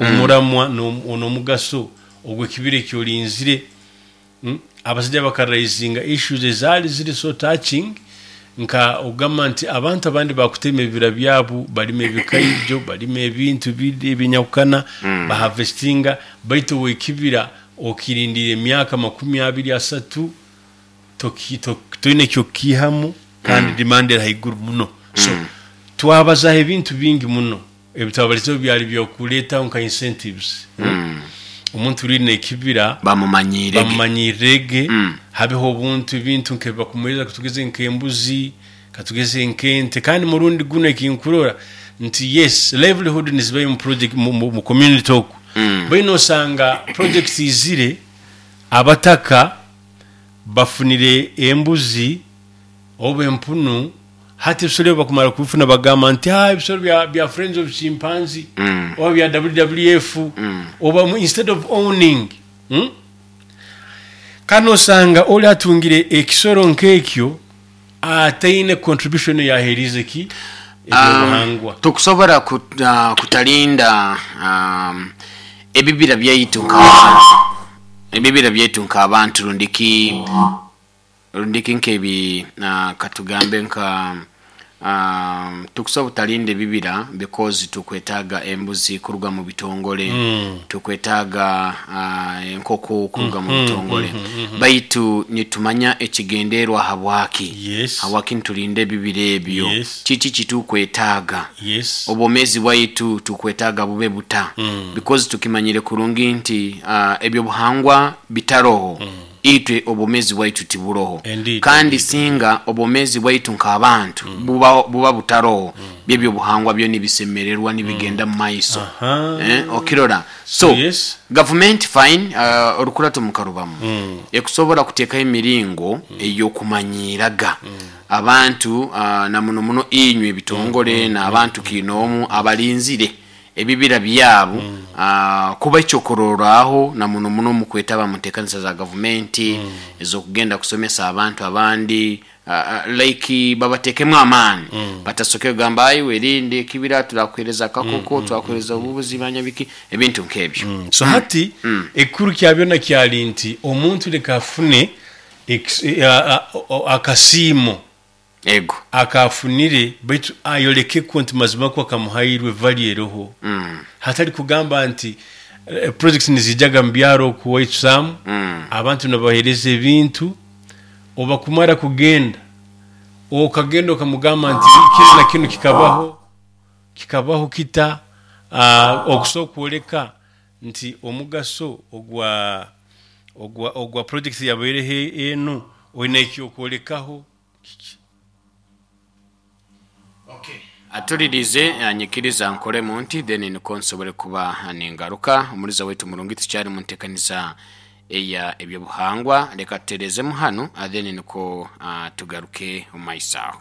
Omuramwa n'omugaso ogw'ekibira eki orinzire. Abasaija bakaraizinga issues ezaali ziri so touching nka okugamba nti abantu abandi bakutema ebibira byabu, balima ebikaijo, balima ebintu ebinyahukana, baharvestinga, baitu ow'ekibira okirindiire emyaka makumi abiri asatu toine ekyokukiihamu kandi demand eri haiguru muno. So twabazaho ebintu bingi muno. Ebitwabalizeho byali by'okuleetaho nka incentives. Omuntu riine ekibira Bamumanyiirege. bamumanyiirege, habeho obuntu ebintu nk'ebi bakumuheereza katugeze nk'embuzi, katugeze nk'ente. Kandi murundi gunu ekinkurora nti yes livelihood nizibayo mu project mu community oku. Mbwenu nosanga projects izire abataka bafunire embuzi oba empunu. Hati ebisoro ebi bakumara kubifuna bagamba nti ah ebisoro bya, bya Friends of Chimpanzee oba bya WWF oba instead of owning mm? Kandi osanga ori atungire ekisoro nk'ekyo ataine contribution eyaheeriize ki ebyobuhangwa. Tukusobora kutalinda ebibira byaitu nk'abantu, ebibira byaitu nk'abantu rundi ki Rundiki nk'ebi katugambe nka tukusobora obutalinda ebibira because tukwetaaga embuzi kuruga mu bitongole, tukwetaaga enkoko kuruga mu bitongole baitu nitumanya ekigenderwa habwaki, habwaki nitulinda ebibira ebyo, kiki kitukwetaaga, obwomeezi bwaitu tukwetaaga bube buta because tukimanyire kurungi nti ebyobuhangwa bitaroho. Itwe obwomeezi bwaitu tiburoho. Indeed, Kandi indeed. singa obwomeezi bwaitu nk'abantu buba, buba butaroho, by'ebyobuhangwa byo nibisemererwa nibigenda mu maiso. Aha. Eh, okirora? So, So, yes. gavumenti fine, orukurato mukarubamu, ekusobora kuteekaho emiringo ey'okumanyiiraga abantu, na muno muno inywe ebitongole n'abantu kiinoomu abalinzire ebibira byabu kuba ekyokurorraho na muno muno omu kwetaba mu ntekanisa za gavumenti ez'okugenda kusomesa abantu abandi like babatekemu amaani batasoke kugamba ayi werinde ekibira turakuhereza akakoko turakuhereza obubuzi manya biki ebintu nk'ebyo. So hati ekikuru kya byona kyali nti omuntu leka afune akasiimo Ego. Akaafunire, baitu ayoleke kwo nti mazima kwo akamuhairwe value eroho. Hatali kugamba nti projects niziijaga mu byaro oku owaitu Sam, abantu nibabahereza ebintu, obubakumara kugenda, okagenda okamugamba nti kinu na kinu kikabaho, kikabaho kita, okusobora kwoleka nti omugaso ogwa ogwa ogwa project eyabaireho enu oine ekyokwolekaho. Kiki? Atulirize nyikiriza nkoremu nti then nikwo nsobole kuba ningaruka. Omuliza waitu murungi tukyali mu ntekaniza eya ebyobuhangwa leka tuterezemu hanu then nikwo tugaruke omu maiso aho.